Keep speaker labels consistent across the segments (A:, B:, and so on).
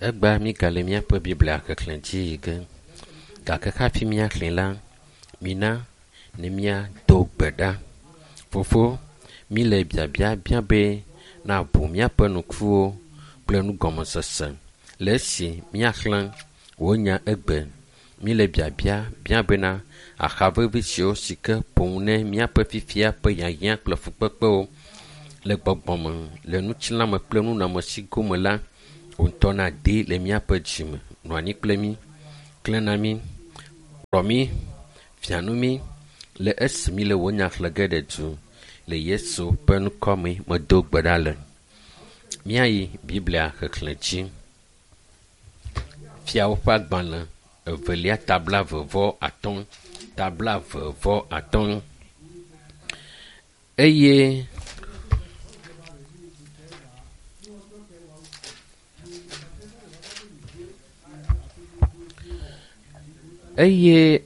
A: Egbea mígale míaƒe Biblia xexlẽ dzi yi ge. Gake hafi míaxlẽ la, mina ne míado gbe ɖa. Fofo, míle biabia bia be nàʋu míaƒe ŋkuwo kple nugɔmesese le esi míaxlẽ wò nya egbe. Míle biabia bia bena axa vevi siwo si ke ƒo nu ne míaƒe fifia ƒe hiahiã kple fukpekpewo le gbɔgbɔme, le ŋutilãme kple nunɔamesi gome la, wò ŋutɔ nàdee le míaƒe dzime. Nɔ anyi kple mí, klẽ na mí, kplɔ mí, fia nu mí le esi míle wò nya xlẽ ge ɖe du. Le Yesu ƒe ŋkɔ me medo gbe ɖa le. Míayi Biblia xexlẽ dzi. Fiawo ƒe agbalẽ evelia ta 35, ta 35. Eye eye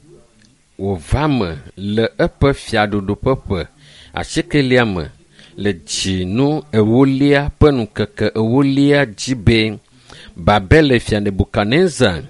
A: wòva me le eƒe fiaɖuɖu ƒe ƒe asiekelia me le dzinu ewolia ƒe ŋkeke ewolia dzi be Babel fia Nebukadnezar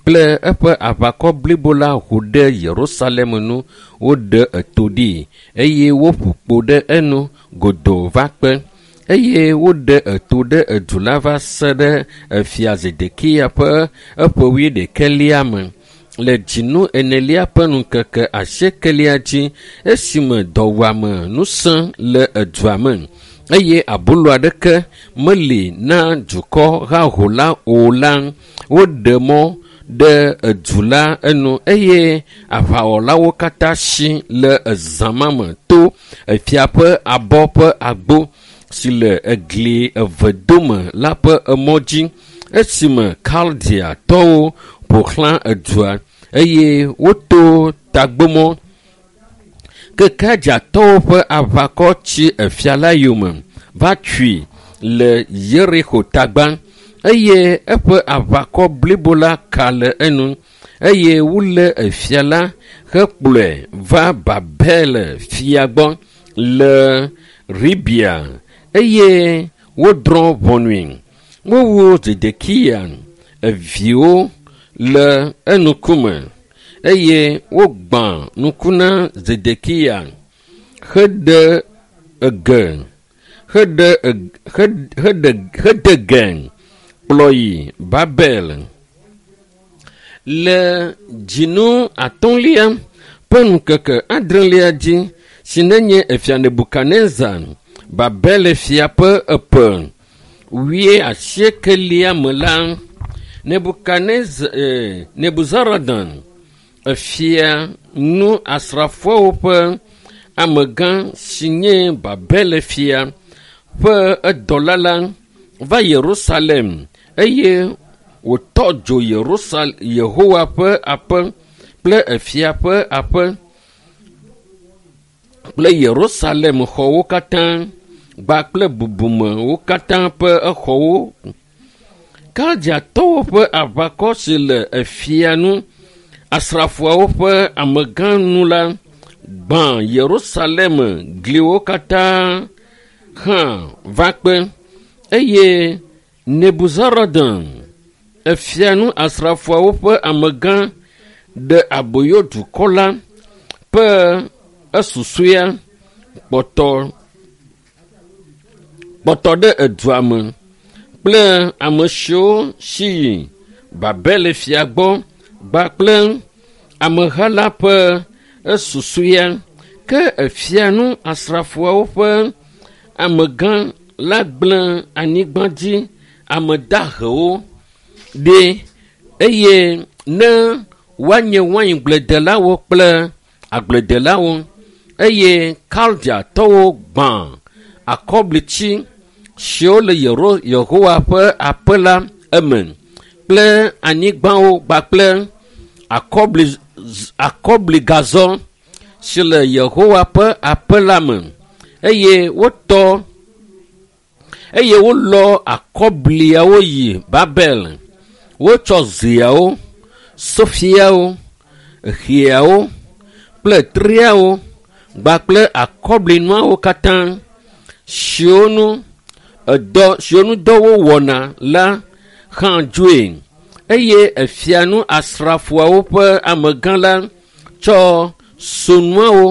A: kple eƒe aʋakɔ blibo la ho ɖe Yerusalem nu, woɖe eto ɖi eye woƒu kpo ɖe enu godoo va kpe. Eye woɖe eto ɖe edu la va se ɖe efia Zedekiya ƒe eƒe wuiɖekɛlia me. Le dzinu enelia ƒe ŋkeke asiekelia dzi esime dɔwuame nu sẽ le edua me eye abolo aɖeke meli na dukɔ haho la o la, woɖe mɔ ɖe edu la enu eye aʋawɔlawo katã si le ezã ma me to efia ƒe abɔ ƒe agbo si le egli eve dome la ƒe emɔ dzi esime Kaldeatɔwo ƒo xlã edua eye woto tagbomɔ. Ke Kaldeatɔwo ƒe aʋakɔ tsi efia la yome va tui le Yerixo tagba eye eƒe aʋakɔ blibo la ka le enu eye wolé efia la hekplɔe va Babel fia gbɔ le Ribia eye wodrɔ̃ ʋɔnui. Wowu Zedekiya eviwo le eŋkume eye wogbã ŋku na Zedekiya heɖe ege heɖe heɖe hede ge kplɔ yi Babel. Le dzinu atɔ̃lia ƒe ŋkeke adrelia dzi si nenye efia Nebukadnezar Babel fia ƒe eƒe wuiasiekelia me la, Nebukadnezar Nebuzaradan efia nu asrafoawo ƒe amegã si nye Babel fia ƒe edɔla la va Yerusalem eye wòtɔ dzo Yerusal Yehowa ƒe aƒe kple efia ƒe aƒe kple Yerusalem xɔwo katã kpakple bubumewo katã ƒe exɔwo. Kaldeatɔwo ƒe aʋakɔ si le efia nu, asrafoawo ƒe amegã nu la gbã Yerusalem gliwo katã hã va kpe eye Nebuzaradan efia nu asrafoawo ƒe amegã ɖe aboyo dukɔ la ƒe esusɔea kpɔtɔ kpɔtɔ ɖe edua me kple ame siwo si yi Babel fia gbɔ kpakple ameha la ƒe esusɔea. Ke efia nu asrafoawo ƒe amegã la gblẽ anyigba dzi ame dahewo ɖi eye ne woanye waingbledelawo kple agbledelawo eye Kaldeatɔwo gbã akɔblitsi siwo le Yehowa ƒe aƒe la eme kple anyigbawo kpakple akɔbli akɔbligazɔ si le Yehowa ƒe aƒe la me eye wotɔ eye wolɔ akɔbliawo yi Babel. Wotsɔ zeawo, sofiawo, xiawo kple treawo kpakple akɔblinuawo katã siwo nu edɔ siwo ŋu dɔ wowɔna la hã dzoe. Eye efia nu asrafoawo ƒe amegã la tsɔ sonuawo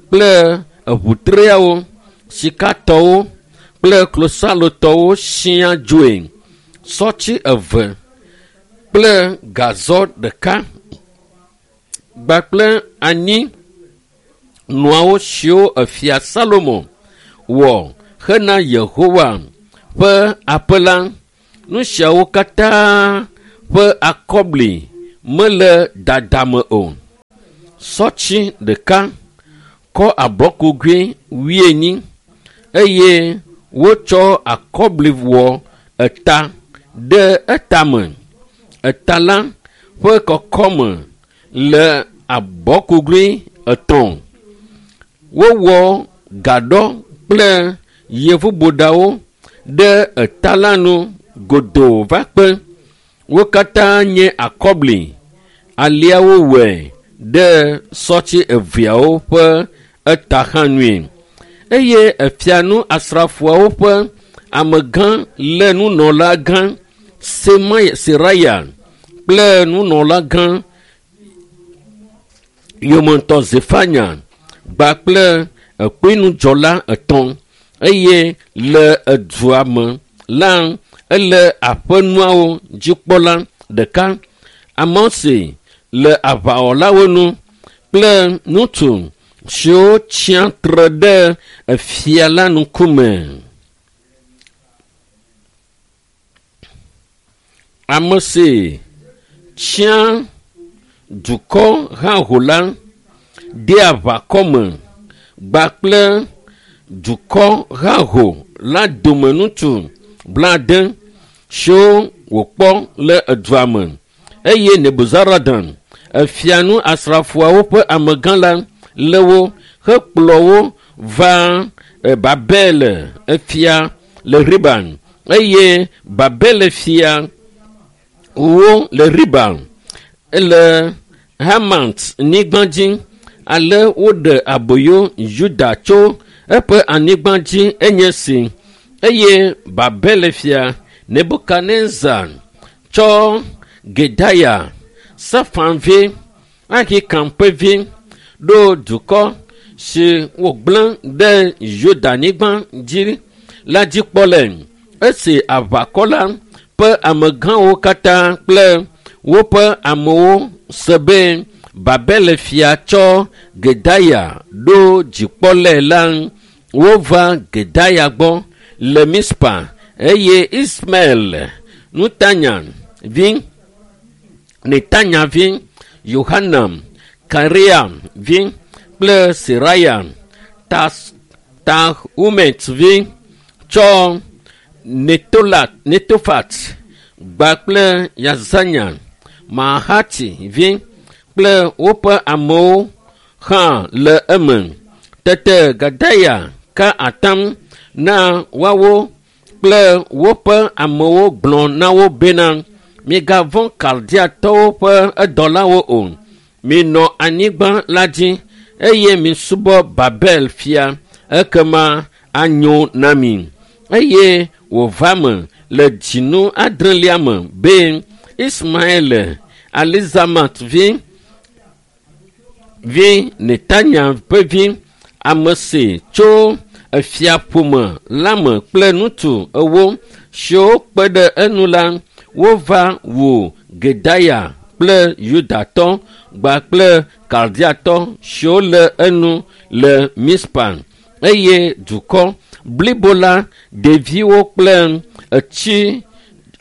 A: kple eʋutreawo, sikatɔwo kple klosalotɔwo siaa dzoe. Sɔtsi eve kple gazɔ ɖeka kpakple anyi nuawo siwo efia Salomo wɔ hena Yehowa ƒe aƒe la. Nu siawo katã ƒe akɔbli mele dada me o. Sɔtsi ɖeka kɔ abɔkugui wuienyi eye wotsɔ akɔbli wɔ eta ɖe etame. Eta la ƒe kɔkɔme le abɔkugui etɔ̃. Wowɔ gaɖɔ kple yevuboɖawo ɖe eta la nu godoo va kpe. Wo katã nye akɔbli. Alea wowɔe ɖe sɔtsi eveawo ƒe eta hã nue. Eye efia nu asrafoawo ƒe amegã lé nunɔlagã Seraya kple nunɔlagã yometɔ Zefanya kpakple ekpenudzɔla etɔ̃ eye le edua me la ele aƒenuawo dzikpɔla ɖeka ame si le aʋawɔlawo nu kple ŋutsu siwo tsia tre ɖe efia la ŋkume. Ame si tsia dukɔ haho la dea aʋakɔ me kpakple dukɔ haho la dome ŋutsu blaade siwo wòkpɔ le edua me eye Nebuzaradan efia nu asrafoawo ƒe amegã la lé wo hekplɔ wo va Babel efia le Riban eye Babel fia wo le Riban le Hamat nyigba dzi ale woɖe aboyo Yuda tso eƒe anyigba dzi enye si eye Babel fia Nebukadnezar tsɔ Gedaya, Safan vi, Ahikam ƒe vi ɖo dukɔ si wògblẽ ɖe Yuda-nyigba dzi la dzi kpɔlae. Esi aʋakɔ la ƒe amegãwo katã kple woƒe amewo se be Babel-fia tsɔ Gedaya ɖo dzikpɔlae la, wova Gedaya gbɔ le Mizpa eye Ismael Nutanya vi, Netanya vi, Yohanan, Karea vi kple Seraya, Tanhumet vi tsɔ Netofat gba kple Yazanya, Mahati vi kple woƒe amewo hã le eme. Tete Gedaya ka atam na woawo kple woƒe amewo gblɔ na wo bena, Migavɔ̃ Kaldeatɔwo ƒe edɔlawo o. Minɔ anyigba la dzi eye misubɔ Babel fia, ekema anyo na mi. Eye wòva me le dzinu adrelia me be Ismael, Elisamat vi, vi Netanya ƒe vi, ame si tso efiaƒome la me kple ŋutsu ewo siwo kpe ɖe enu la, wova wu Gedaya kple Yudatɔ kpakple Kaldeatɔ siwo le enu le Mizpa eye dukɔ blibo la, ɖeviwo kple etsi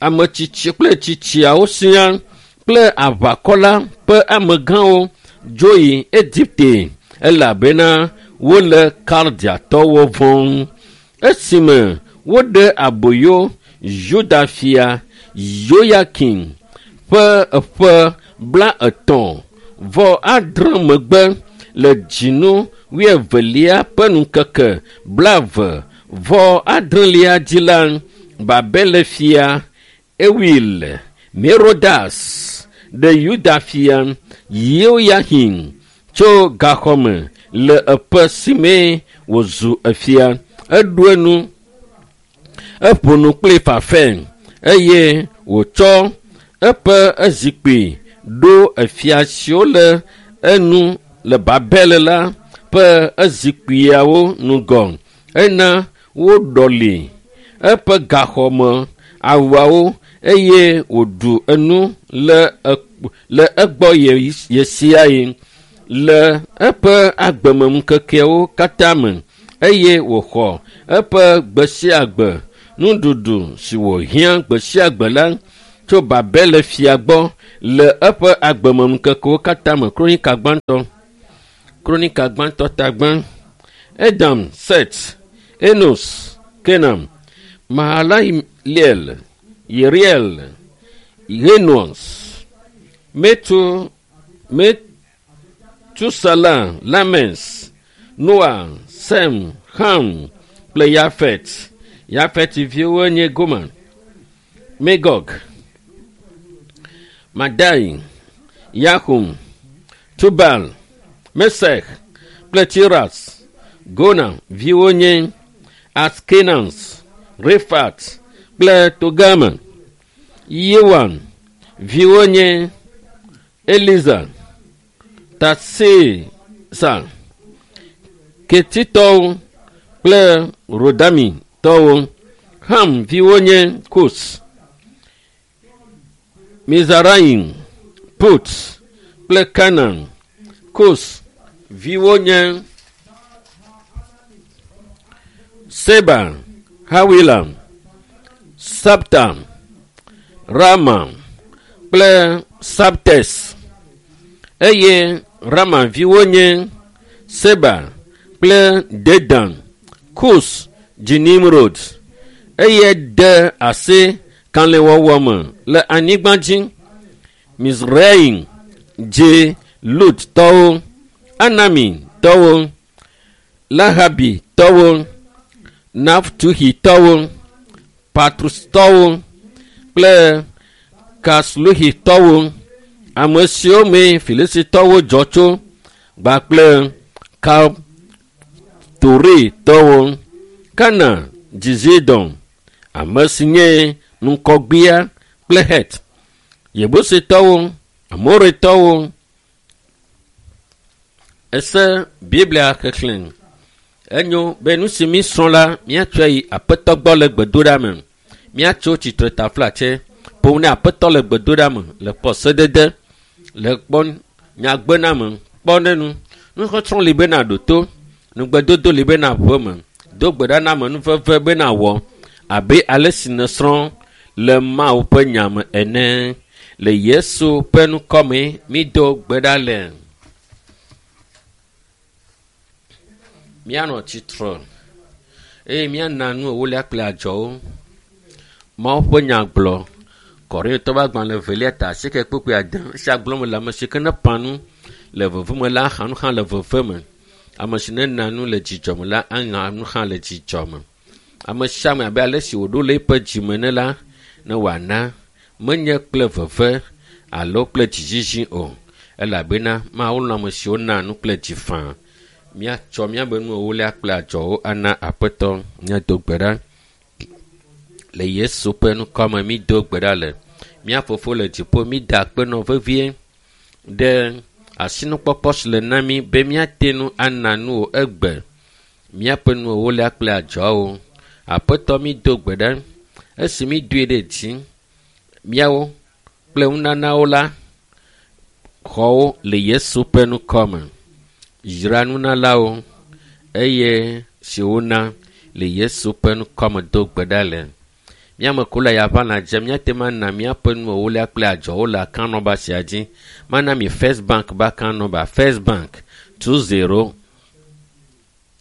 A: ame tsitsi kple tsitsiawo siaa kple aʋakɔ la ƒe amegãwo dzo yi Egipte elabena wole Kaldeatɔwo vɔ̃m. Esime woɖe aboyo Yuda fia Yoyakim ƒe ƒe blaetɔ̃ vɔ adre megbe le dzinu wuievelia ƒe ŋkeke blaeve vɔ adrelia dzi la, Babel fia Ewil Merodax ɖe Yuda fia Yehoyaxin tso gaxɔ me le eƒe si mee wòzu efia. Eɖo enu, eƒo nu kpli fafɛ eye Wòtsɔ eƒe ezikpui ɖo efia siwo le enu le Babel la ƒe ezikpuiawo ŋgɔ. Ena woɖɔli eƒe gaxɔme awuawo eye wòɖu enu le le egbɔ ɣesiaɣi le eƒe agbemeŋkekeawo katã me eye wòxɔ eƒe gbe sia gbe nuɖuɖu si wòhiã gbe sia gbe la tso Babel fia gbɔ le eƒe agbemeŋkekewo katã me. Kronika gbãtɔ, Kronika gbãtɔ tagbã, Edam, Set, Enos, Kenan, Mahalalel, Yeriel, Enos, Metu, Metusala, Lames, Noa, Sem, Ham kple Yafet. Yafet viwo nye Gomer, Magog, Madai, Yahum, Tubal, Mesech kple Tiras. Gona viwo nye Askenaz, Rifat kple Togama. Yewan viwo nye Eliza, Tarsisa, Ketitɔwo kple Rodamitɔwo. Ham viwo nye Kus, Mizraim, Put kple Kanaan. Kus viwo nye Seba, Hawila, Sabta, Rama kple Sabtes. Eye Rama viwo nye Seba kple Dedan. Kus dzi Nimrod eye de asi kalẽwɔwɔ me le anyigba dzi. Mizraim dzi Ludtɔwo, Anamitɔwo, Lahabitɔwo, Naftuhitɔwo, Patrustɔwo kple Kasluhitɔwo, ame siwo mee Filistitɔwo dzɔ tso kpakple Kaftoritɔwo. Kana dzi Zidon, ame si nye ŋkɔgbea kple Het, Yebusitɔwo, Amoritɔwo. Ese Biblia xexlẽ. Enyo be nu si mísrɔ̃ la, míatsɔe yi Aƒetɔ gbɔ le gbedoɖa me. Míatso tsitre taflatse ƒom ne Aƒetɔ le gbedoɖa me le kpɔ sedede, le kpɔ nyagbename, kpɔ ne nu. Nusɔsrɔ̃ li bena ɖo to, nugbedodo li bena ʋu eme, do gbe ɖa na amenuveve bena wɔ abe ale si nèsrɔ̃ le Mawu ƒe nya me ene. Le Yesu ƒe ŋkɔ me mído gbe ɖa le. Míanɔ tsitre eye míana nu ewolia kple adzɔwo. Mawu ƒe nya gblɔ. Korintɔ ƒe agbalẽ evelia ta asieke kpukpui ade. Esia gblɔm le ame si ke ne ƒã nu le veve me la axa nu hã le veve me. Ame si nena nu le dzidzɔ me la aŋa nu hã le dzidzɔ me. Ame sia ame abe ale si wòɖo le eƒe dzime ene la, ne wòana menye kple veve alo kple dzizizi o elabena Mawu lɔ̃ ame siwo naa nu kple dzi faa. Míatsɔ míabe nu ewolia kple adzɔwo ana Aƒetɔ. Míado gbe ɖa. Le Yesu ƒe ŋkɔ me mído gbe ɖa le. Mía Fofo le dziƒo, mída akpe nɔ vevie ɖe asinukpɔkpɔ si le na mí be míate ŋu ana nu wò egbe. Míaƒe nu ewolia kple adzɔawo. Aƒetɔ mído gbe ɖa. Esi mídoe ɖe dzi, míawo kple nunanawo la, xɔwo le Yesu ƒe ŋkɔ me. Yra nunalawo eye si wona le Yesu ƒe ŋkɔ me do gbe ɖa le. Míame ko le yaʋa lãdze míate ŋu ana míaƒe nu ewolia kple adzɔwo le account number sia dzi. Mana mi First Bank be account number. First Bank 20.